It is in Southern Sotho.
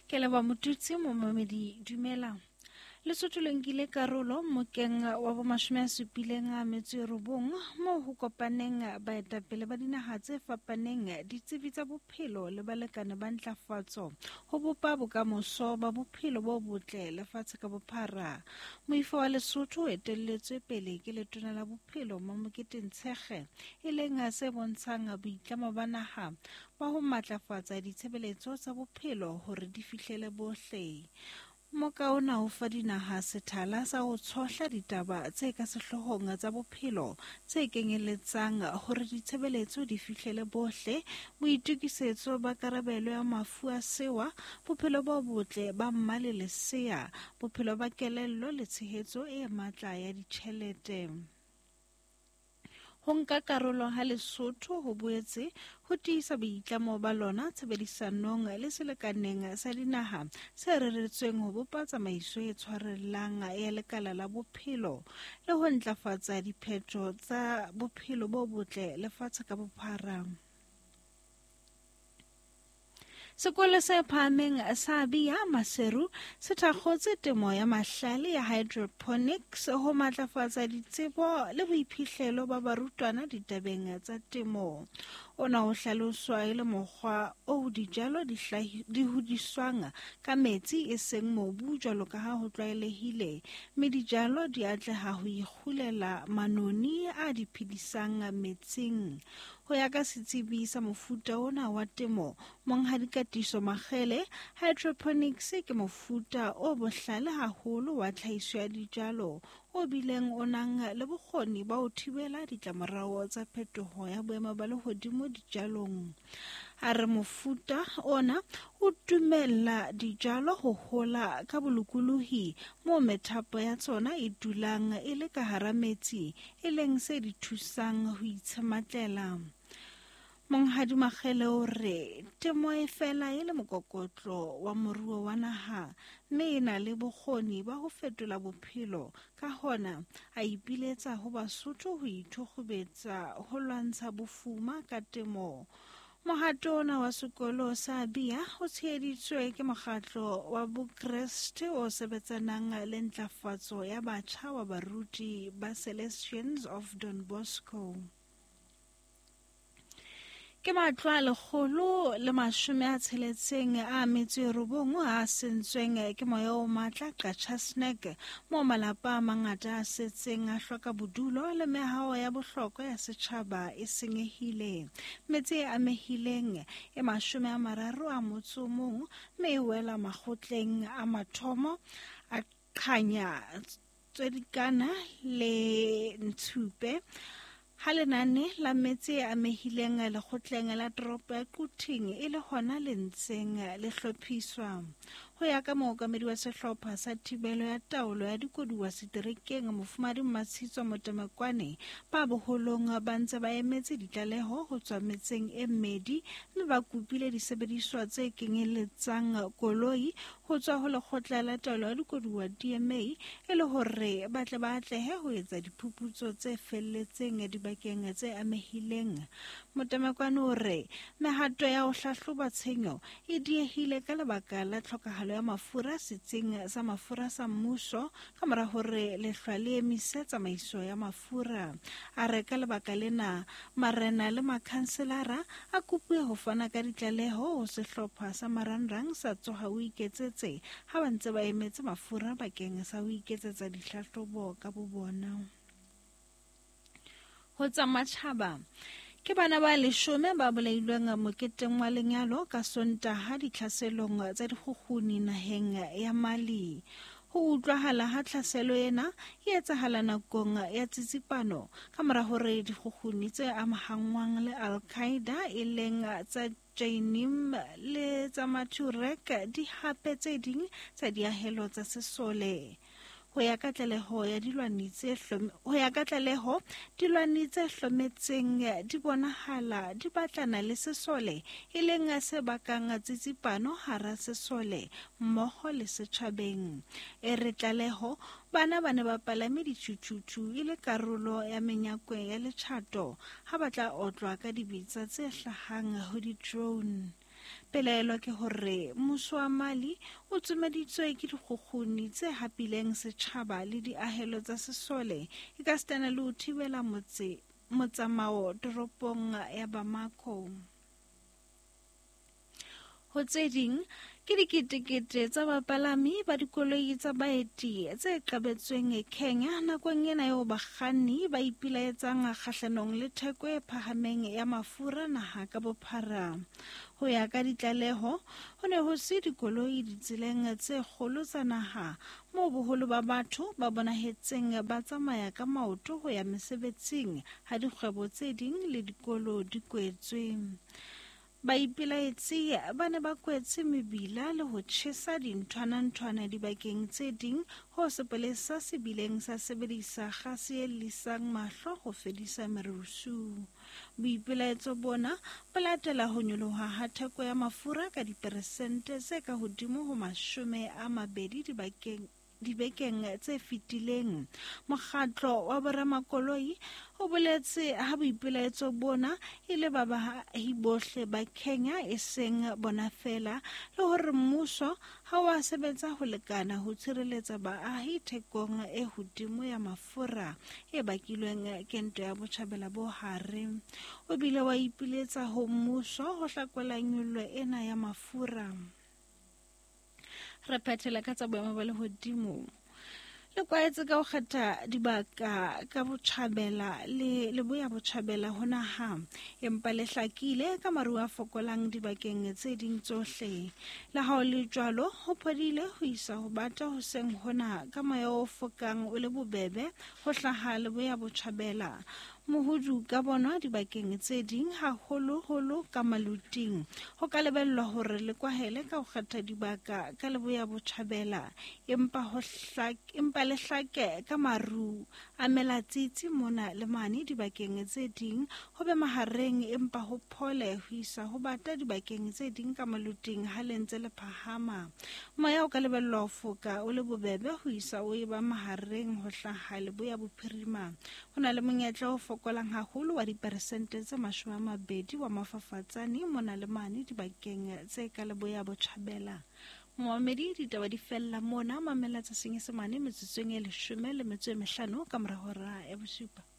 Ke leboha Motutsi momamedi dumela. Lesotho le nkile karolo mokeng wa bomashome a supileng a metso e robong moo ho kopaneng baetapele ba dinaha tse fapaneng, ditsebi tsa bophelo le balekane ba ntlafatso ho bopa bokamoso ba bophelo bo botle lefatshe ka bophara. Moifo wa Lesotho o etelletswe pele ke letona la bophelo Mamokete Ntshekge, e leng se bontshang boitlamo ba naha ba ho matlafatsa ditshebeletso tsa bophelo hore di fihlele bohle. Moka ona o fa dinaha sethala sa ho tshohla ditaba tse ka sehloohong tsa bophelo tse kenyeletsang hore ditshebeletso di fihlele bohle, boitokisetso ba karabelo ya mafu a sewa, bophelo bo botle ba mma le lesea, bophelo ba kelello le tshehetso e matla ya ditjhelete. Ho nka karolo ha Lesotho ho boetse ho tiisa boitlamo ba lona tshebedisanong le selekaneng sa dinaha se reretsweng ho bopa tsamaiso e tshwarellang ya lekala la bophelo le ho ntlafatsa diphetho tsa bophelo bo botle lefatshe ka bophara. Sekolo se phahameng sa Bia Maseru se thakgotse temo ya mahlale ya hydroponics ho matlafatsa ditsebo le boiphihlelo ba barutwana ditabeng tsa temo. Ona o hlaloswa e le mokgwa oo dijalo di hodiswang ka metsi e seng mobu jwalo ka ha ho tlwaelehile, mme dijalo di atleha ho ikgulela manoni a di phedisang metsing. Ho ya ka setsebi sa mofuta ona wa temo, Monghadi Katiso Makgele, hydroponics ke mofuta o bohlale haholo wa tlhahiso ya dijalo o bileng o nang le bokgoni ba ho thibela ditlamorao tsa phetoho ya boemo ba lehodimo dijalong. A re mofuta ona o dumella dijalo ho hola ka bolokolohi moo methapo ya tsona e dulang e le ka hara metsi e leng se di thusang ho itshematlela. Monghadi Makgele o re temo e fela e le mokokotlo wa moruo wa naha mme e na le bokgoni ba ho fetola bophelo. Ka hona a ipiletsa ho Basotho ho ithokgobetsa ho lwantsha bofuma ka temo. Mohato ona wa sekolo sa Bia o tsheheditswe ke mokgatlo wa Bokreste o sebetsanang le ntlafatso ya batjha wa baruti ba Celestians of Don Bosco. Ke matlo a 160 a metso e robong a sentsweng ke moya o matla Qacha's Nek, moo malapa a mangata a setseng a hloka bodulo le mehao ya bohlokwa ya setjhaba e senyehile. Metse e amehileng e 31 mme e wela makgotleng a mathomo a Qhanya, Tswedikana le Ntshupe. Ha lenane la metse e amehileng lekgotleng la toropo ya Quthing e le hona le ntseng le hlophiswa. Ho ya ka mookamedi wa sehlopha sa thibelo ya taolo ya dikoduwa seterekeng Mofumadi Mmatshitswa Motemekwane, ba boholong ba ntse ba emetse ditlaleho ho tswa metseng e mmedi mme ba kopile disebediswa tse kenyeletsang koloi ho tswa ho lekgotla la taolo ya dikoduwa DMA e le hore ba tle ba atlehe ho etsa diphuputso tse felletseng dibakeng tse amehileng. Motemekwane o re mehato ya ho hlahloba tshenyo e diehile ka lebaka la tlhokahalo ya mafura setsing sa mafura sa mmuso ka mora hore lehlwa le emise tsamaiso ya mafura. A re ka lebaka lena marena le makhanselara a kopuwe ho fana ka ditlaleho ho sehlopha sa marangrang sa Tsoha o Iketsetse ha ba ntse ba emetse mafura bakeng sa ho iketsetsa dihlahlobo ka bobona. Ho tsa matjhaba, ke bana ba 10 ba bolailweng moketeng wa lenyalo ka Sontaha ditlhaselong tsa dikgukguni naheng ya Mali. Ho utlwahala ha tlhaselo ena e etsahala nakong ya tsitsipano ka mora hore dikgukguni tse amahanngwang le Al-Qaeda e leng tsa Jainim le tsa Maturek di hape tse ding tsa diahelo tsa sesole. Ho ya ka tlaleho ya dilwani tse ho ya ka tlaleho dilwani tse hlometseng di bonahala di batlana le sesole e leng se bakang tsitsipano hara sesole mmoho le setjhabeng. E re tlaleho bana ba ne ba palame ditjhutjhutjhu e le karolo ya menyakwe ya letjhato ha ba tla otlwa ka dibetsa tse hlahang ho di-drone. Pelaelo ke hore mmuso wa Mali o tsomeditswe ke dikgukguni tse hapileng setjhaba le diahelo tsa sesole ekasitana le ho thibela motse motsamao toropong ya Bamako. Ho tse ding, ke diketekete tsa bapalami ba dikoloi tsa baeti tse qabetsweng Kenya nakong ena eo bakganni ba ipilaetsang kgahlanong le theko e phahameng ya mafura naha ka bophara. Ho ya ka ditlaleho, ho ne ho se dikoloi ditseleng tse kgolo tsa naha moo boholo ba batho ba bonahetseng ba tsamaya ka maoto ho ya mesebetsing ha dikgwebo tse ding le dikolo di kwetswe. Baipelaetsi ba ne ba kwetse mebila le ho tjhesa dinthwana-nthwana dibakeng tse ding hoo sepolesa se bileng sa sebedisa kgase e llisang mahlo ho fedisa merusu. Boipelaetso bona bo latela ho nyoloha ha theko ya mafura ka diperesente tse ka hodimo ho 20 dibakeng dibekeng tse fetileng. Mokgatlo wa boramakoloi o boletse ha boipelaetso bona e le ba baahi bohle ba Kenya e seng bona feela, le hore mmuso ha o a sebetsa ho lekana ho tshireletsa baahi thekong e hodimo ya mafura e bakilweng ke ntwa ya Botjhabela bo Hare. O bile wa ipiletsa ho mmuso ho hlakola nyollo ena ya mafura. Re phethela ka tsa boemo ba lehodimo. Le kwaetse ka ho kgetha dibaka ka botjhabela le leboya botjhabela ho naha, empa le hlakile ka maru a fokolang dibakeng tse ding tsohle. Le ha ho le jwalo, ho phodile ho isa ho bata hoseng hona ka moya o fokang o le bobebe ho hlaha leboya botjhabela. Mohudu ka bonwa dibakeng tse ding, haholoholo ka maluting. Ho ka lebellwa hore le kwahele ka ho kgetha dibaka ka leboya botjhabela, empa ho empa le hlake ka maru a melatsitsi mona le mane dibakeng tse ding, ho be mahareng empa ho phole ho isa ho bata dibakeng tse ding ka maluting ha le ntse le phahama. Moya o ka lebellwa ho foka o le bobebe ho isa o eba mahareng ho hlaha leboya bophirima. Ho na le monyetla o fokolang haholo wa diperesente tse 20 wa mafafatsane mona le mane dibakeng tse ka leboya botjhabela. Momamedi, ditaba di fella mona. Mamela tsa Senyesemane metsotsong e 15 ka mora hora ya 7.